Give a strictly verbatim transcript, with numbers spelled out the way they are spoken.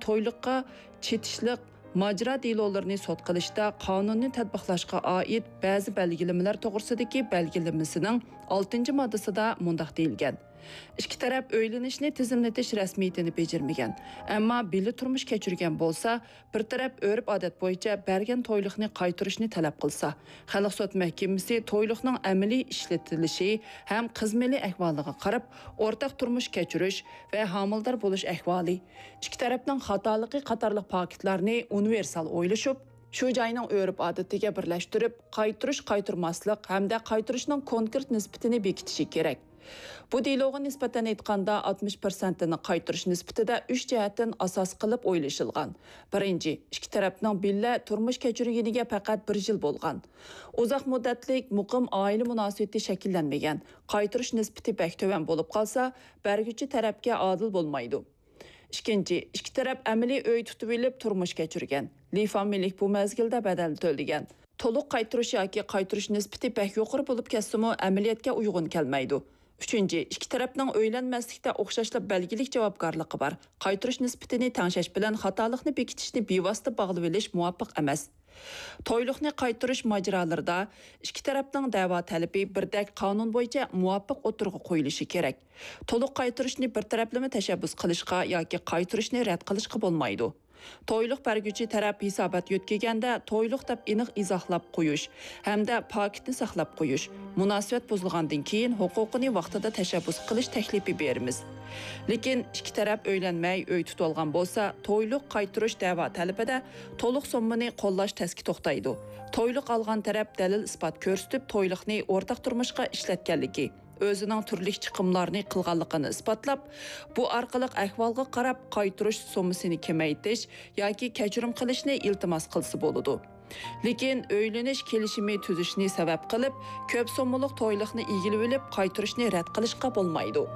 تويلۇققا چېتىشلىق ماجىرا دېلولىرىنى سوت قىلىشتا قانۇننى تەتبىقلاشقا ئائىت بەزى بەلگىلىمىلەر توغرىسىدىكى بەلگىلىمىسىنىڭ ئالتىنچى ماددىسىدا مۇنداق دېيىلگەن: ئىككى تەرەپ ئۆيلىنىشنى تىزىملىتىش رەسمىيىتىنى بېجىرمىگەن، ئەمما بىللە تۇرمۇش كەچۈرگەن بولسا، بىر تەرەپ ئۆرپ-ئادەت بويىچە بەرگەن تويلۇقنى قايتۇرۇشنى تەلەپ قىلسا، خەلق سوت مەھكىمىسى تويلۇقنىڭ ئەمەلىي ئىشلىتىلىشى ھەم قىز مېلى ئەھۋالىغا قاراپ، ئورتاق تۇرمۇش كەچۈرۈش ۋە ھامىلىدار بولۇش ئەھۋالى، ئىككى تەرەپنىڭ خاتالىقى قاتارلىق پاكىتلارنى ئۇنىۋېرسال ئويلىشىپ، شۇ جاينىڭ ئۆرپ-ئادىتىگە بىرلەشتۈرۈپ، قايتۇرۇش-قايتۇرماسلىق ھەمدە قايتۇرۇشنىڭ كونكرېت نىسبىتىنى بېكىتىشى كېرەك. بۇ دېلوغا نىسبەتەن ئېيتقاندا، ئاتمىش پىرسەنتىنى قايتۇرۇش نىسبىتىدە ئۈچ جەھەتتىن ئاساس قىلىپ ئويلىشىلغان. بىرىنچى، ئىككى تەرەپنىڭ بىللە تۇرمۇش كەچۈرگىنىگە پەقەت بىر يىل بولغان. ئۇزاق مۇددەتلىك، مۇقىم ئائىلە مۇناسىۋىتى شەكىللەنمىگەن، قايتۇرۇش نىسبىتى بەك تۆۋەن بولۇپ قالسا، بەرگۈچى تەرەپكە ئادىل بولمايدۇ. ئىككىنچى، ئىككى تەرەپ ئەمەلىي ئۆي تۇتۇۋېلىپ تۇرمۇش كەچۈرگەن، لىفا مۈلۈك بۇ مەزگىلدە بەدەل تۆلىگەن. تولۇق قايتۇرۇش ياكى قايتۇرۇش نىسبىتى بەك يۇقىرى بولۇپ كەتسىمۇ، ئەمەلىيەتكە ئۇيغۇن كەلمەيدۇ. ئۈچىنچى، ئىككى تەرەپنىڭ ئۆيلەنمەسلىكتە ئوخشاشلا بەلگىلىك جاۋابكارلىقى بار. قايتۇرۇش نىسبىتىنى تەڭشەش بىلەن خاتالىقنى بېكىتىشنى بىۋاسىتە باغلىۋېلىش مۇۋاپىق ئەمەس. تويلۇقنى قايتۇرۇش ماجىرالىرىدا ئىككى تەرەپنىڭ دەۋا تەلىپى بىردەك قانۇن بويىچە مۇۋاپىق ئوتتۇرىغا قويۇلۇشى كېرەك. تولۇق قايتۇرۇشنى بىر تەرەپلىمە تەشەببۇس قىلىشقا ياكى قايتۇرۇشنى رەت قىلىشقا بولمايدۇ. تويلۇق بەرگۈچى تەرەپ ھېسابات يۆتكىگەندە تويلۇق دەپ ئېنىق ئىزاھلاپ قويۇش ھەمدە پاكىتنى ساقلاپ قويۇش، مۇناسىۋەت بۇزۇلغاندىن كېيىن ھوقۇقىنى ۋاقتىدا تەشەببۇس قىلىش تەكلىپى بېرىمىز. لېكىن ئىككى تەرەپ ئۆيلەنمەي ئۆي تۇتۇۋالغان بولسا، تويلۇق قايتۇرۇش دەۋا تەلىپىدە تولۇق سوممىنى قوللاش تەسكە توختايدۇ. تويلۇق ئالغان تەرەپ دەلىل-ئىسپات كۆرسىتىپ، تويلۇقنى ئورتاق تۇرمۇشقا ئىشلەتكەنلىكى، ئۆزىنىڭ تۈرلۈك چىقىملارنى قىلغانلىقىنى ئىسپاتلاپ، بۇ ئارقىلىق ئەھۋالغا قاراپ قايتۇرۇش سوممىسىنى كېمەيتىش ياكى كەچۈرۈم قىلىشنى ئىلتىماس قىلسا بولىدۇ. لېكىن ئۆيلىنىش كېلىشىمى تۈزۈشنى سەۋەب قىلىپ، كۆپ سوممىلىق تويلۇقنى ئىگىلىۋېلىپ، قايتۇرۇشنى رەت قىلىشقا بولمايدۇ.